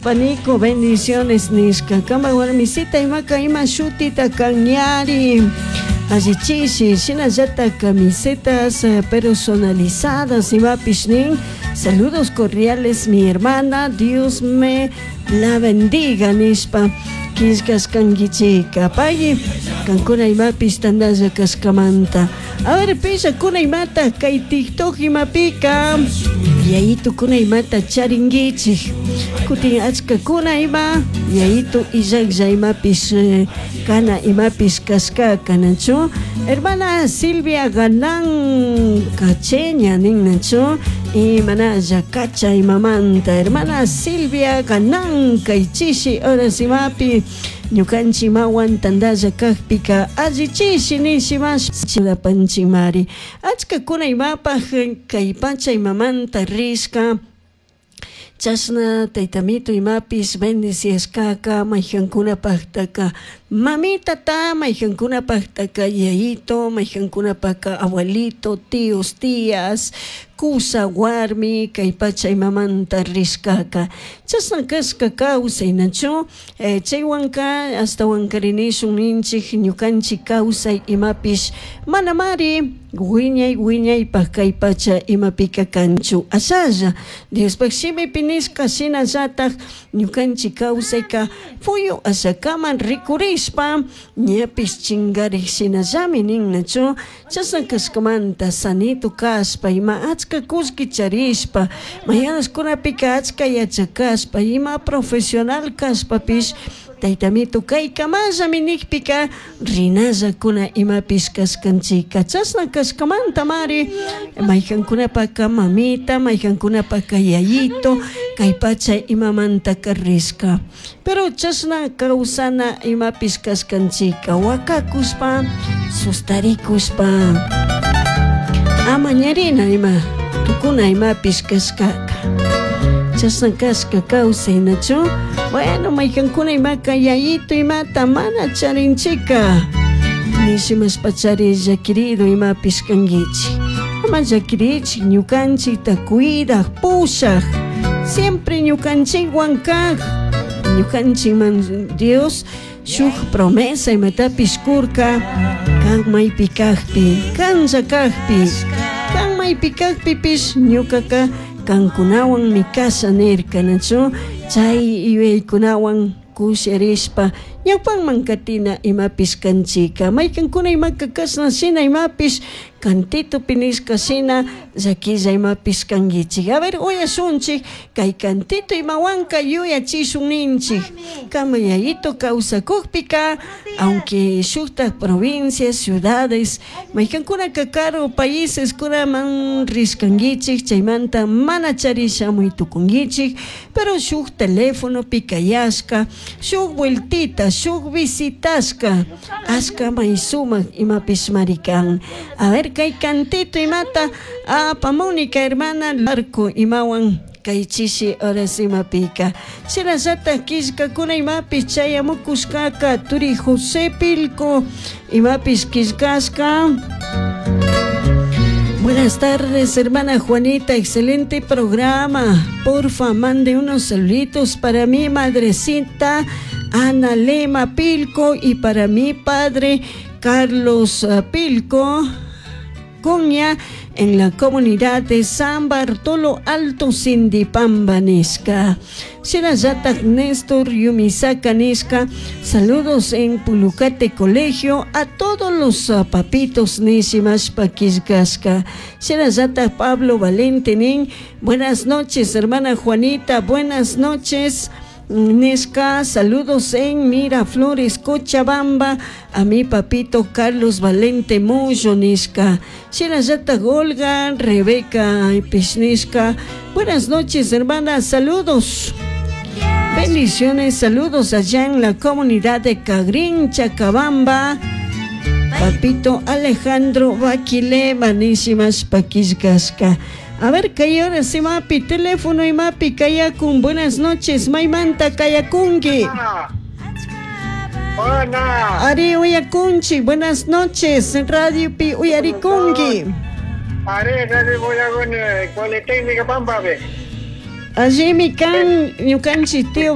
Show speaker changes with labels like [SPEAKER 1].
[SPEAKER 1] Panico, bendiciones nishka. Kama warmisita imaka ima shutita kanyari. Allichishi, shinallata camisetas personalizadas imapish nin. Saludos cordiales mi hermana, Dios me la bendiga nishpa. Killkashkankichika. Pagui, kankuna imapish tandalla kashkamanta. A ver, pillakuna imata kay TikTok imapika. Yayitukuna imata charinkichik. Kutin achkakuna ima yayitu illaklla imapish kana imapish kashkaka nachu. Hermana Silvia Galán Cacheña nin nachu. Y manalla kacha imamanta. Hermana Silvia Galán kaychishi horas imapi. Ñukanchik mawan tandalla kakpika allichishi nishimash churapanchikmari. Achkakuna imapaj kay pacha imamanta rishka. Chashna taytamito imapish bendiciashkaka mayjankunapajtaka mamitata, mayjankunapajtaka yayito, mayjankunapaka abuelito, tíos, tías, kusa, warmi, kay pacha imamanta rishkaka. Chashna kashka kawsay nachu chaywanka ashtawankarinishun ninchik ñukanchik kawsay imapish manamari wiñay wiñaypaj kay pacha imapika kanchu. Ashalla Diospaj shimipi nishka shinallataj ñukanchik kawsayka fuyu ashakaman rikurishpa ñapish chingarik shinallami nin nachu. Chashna kashkamanta sanito kashpa ima achka kullki charishpa mañanashkunapika achka yachakashpa ima profesional kashpapish taytamito kaykamallami nikpika rinallakuna imapish kashkanchika. Chashna kashkamantamari mayjankunapaka mamita, mayjankunapaka yayito kay pacha imamantaka rishka. Pero chashna kawsana imapish kashkanchika wakakushpa sustarikushpa ama ñarina ima tukuna imapish kashkaka. Chashna kashka kawsay nachu. Bueno, mayjankuna imaka yayito imata mana charinchika. Nishimashpachari llakirido imapish kankichik. Ama llakirichik ñukanchikta cuidaj, pushaj. Siempre ñukanchikwan kaj. Ñukanchikman Dios shuk promesa imatapish kurka kan maypi kajpi, kanlla kajpi, kan maypi kajpipish ñukaka kankunawanmi kasha nirka nachu. Chay yuyaykunawan kusharishpa ñawpanman katina imapish kanchika. Maykankuna imaka kashna shina imapish cantitopi nishka shina llakilla imapish kankichik. A ver, uyashunchik kay cantito imawanka yuyachishun ninchik. Kama yayito kawsakukpika, aunque shuktak provincias, ciudades, maykankunaka karu países kunaman rishkankichik, chaymanta mana charishamuy tukunkichik, pero shuk telefonopi kayashka, shuk vueltita, shuk visitashka, ashka may sumak imapish marikan. A ver, kay cantito imata apamuni hermana Larco imawan kay chishi horas imapika. Shinallatak killkakuna imapish chayamukushkaka turi José Pilco imapish killkashka. Buenas tardes, hermana Juanita, excelente programa. Porfa, mande unos saluditos para mi madrecita Ana Lema Pilco y para mi padre Carlos Pilco Cuña en la comunidad de San Bartolo Alto Sindipamba nishka. Shinallatak Néstor Yumisaka nishka. Saludos en Pulucate Colegio a todos los papitos nishimashpa killkashka. Shinallatak Pablo Valente nin. Buenas noches, hermana Juanita. Buenas noches. Nishka, saludos en Miraflores, Cochabamba, a mi papito Carlos Valente Muyo, nishka. Shinallatak Olga, Rebeca Pishnishka. Buenas noches, hermana, saludos. Bendiciones, saludos allá en la comunidad de Cagrín, Chacabamba. Papito Alejandro Baquilema, nishimash pakishkashka. A ver, kay hora si mapi, teléfono y mapi, kayakun. Buenas noches, maymanta kayakunki.
[SPEAKER 2] Hola.
[SPEAKER 1] Ari uyakunchi, buenas noches, radio pi uyarikunki.
[SPEAKER 2] Ari, radio uyakuni, Politécnica Pampa.
[SPEAKER 1] Allimi kan ñukanchik tío.